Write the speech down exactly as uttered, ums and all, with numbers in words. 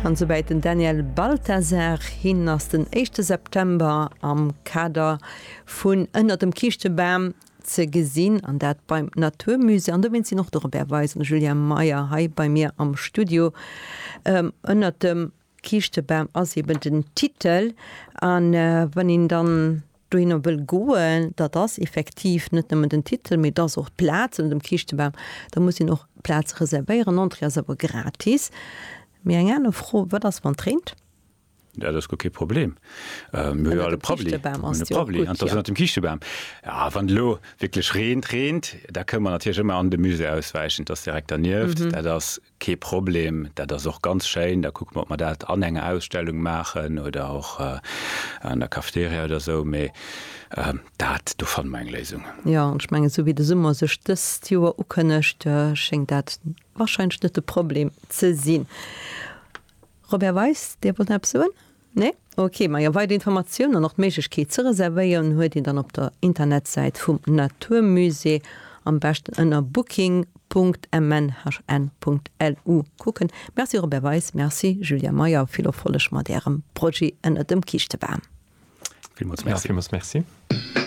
An souwäit den Daniel Balthasar. Hien ass den éischte September am Kader vun Ënner dem Kiischtebam ze gesinn, an dat beim Naturmusée. An dowéinst sinn och de Robert Weis an de Julien Meyer hei bei mir am Studio. Ënner dem Kiischtebam ass eben den Titel. An wann een dann dohinner wëll goen, dat ass effektiv net nëmmen den Titel, mee et ass och d'Plaz ënner dem Kiischtebam, da muss een och d'Plaz reservéieren. Entrée ass awer gratis. Mee eng aner Fro, Wat ass wann et reent? Ja, dat ass guer kee Problem. Mir hu jo all e Prabbeli. Mir hunn e Prabbeli an et ass ënnert dem Kiischtebam. Ja, wann et elo wierklech reent, reent, da kënne mer natierlech ëmmer an de Musée auswäichen. Et ass direkt dernieft. Dat ass kee Problem. Dat ass och ganz schéin. Da kucke mer, ob mer dat an enger Ausstellung maachen oder och an der Cafeteria oder esou. Mee dat, do fanne mer eng Léisung. Jo, an ech mengen, esou wéi de Summer sech dëst Joer ukënnegt, schéngt dat warscheinlech net de Problem ze sinn. Robert Weis, Dir wollt nach eppes soen? Nee? Ok, majo, weider Informatiounen an och d'Méiglechkeet ze reservéieren huet een dann op der Internetsäit vum Naturmusée, am beschten ënner booking Punkt mnhn Punkt lu kucken. Merci Robert Weis, merci Julien Meyer, vill Erfolleg mat Ärem Projet ënner dem Kiischtebam. Villmools Merci. Ja, villmools Merci.